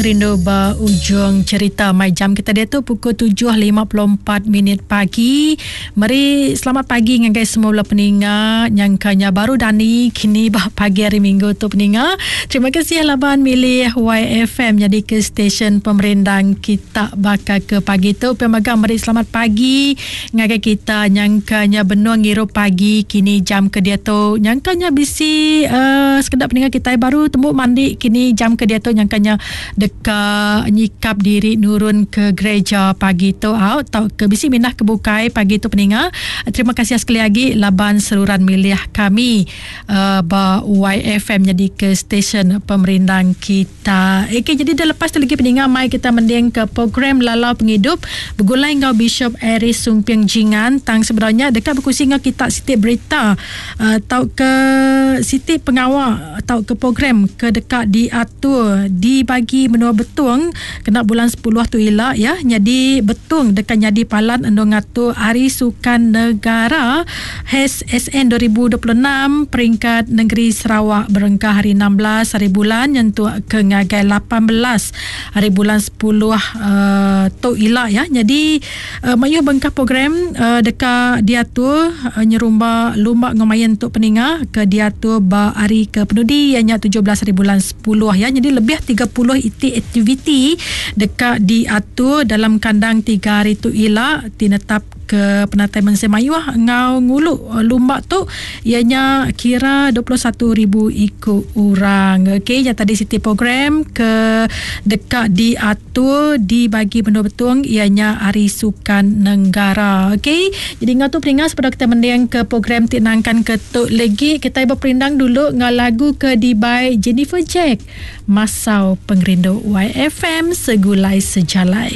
Rindu ba ujung cerita mai jam kita diatu pukul 7.54 minit pagi. Meri selamat pagi ngagai semua bala peninga nyangka nya baru dani kini ba pagi hari minggu tu peninga. Terima kasih laban milih YFM nyadi ke stesen pemerindang kita baka ke pagi tu. Pia mega meri selamat pagi ngagai kita nyangka nya benung ngirup pagi kini jam ke diatu. Nyangka nya bisi uh, sekeda peninga kitai baru tembu mandi kini jam ke diatu nyangka nya deka nyikap diri nurun ke gereja pagi tu au tauka bisi mindah ke bukai pagi tu peninga. Terima kasih sekali agi laban seruran milih kami uh, ba YFM nyadi ke stesen pemerindang kita. Okey jadi dah lepas tu lagi peninga mai kita mending ke program Lalau Pengidup begulai enggau Bishop Aris Sumping Jingan tang sebenarnya deka berkongsi enggau kita siti berita uh, tauka siti pengawa tauka program ke deka diatur di bagi menua Betong kena bulan sepuluh tu ila ya nyadi Betong deka nyadi palan endur ngatur Hari Sukan Negara HSN 2026 peringkat nengeri Sarawak berengkah hari 16 hari bulan nyentuk ke ngagai 18 hari bulan sepuluh uh, tu ila ya nyadi Mayuh bengkah program deka diatur nyerumba lumba enggau main tu peninga ke diatur ba hari ke penudi iya nya 17 haribulan sepuluh ya. Nyadi lebih 30 iti aktiviti deka diatur dalam kandang tiga hari tu ila ti netap ke penatai mensia mayuh enggau ngulu lumba tu iya nya kira 21,000 iku orang. Okey nya tadi siti program ke deka diatur. Tu dibagi menua Betong iya nya Hari Sukan Nenggara. Okey. Jadi enggau tu peninga sebedau kita mending ke program ti nangkan ke tu legi kitai beperindang dulu enggau lagu ke dibai Jennifer Jack Masau Pengerindu YFM Segulai Sejalai.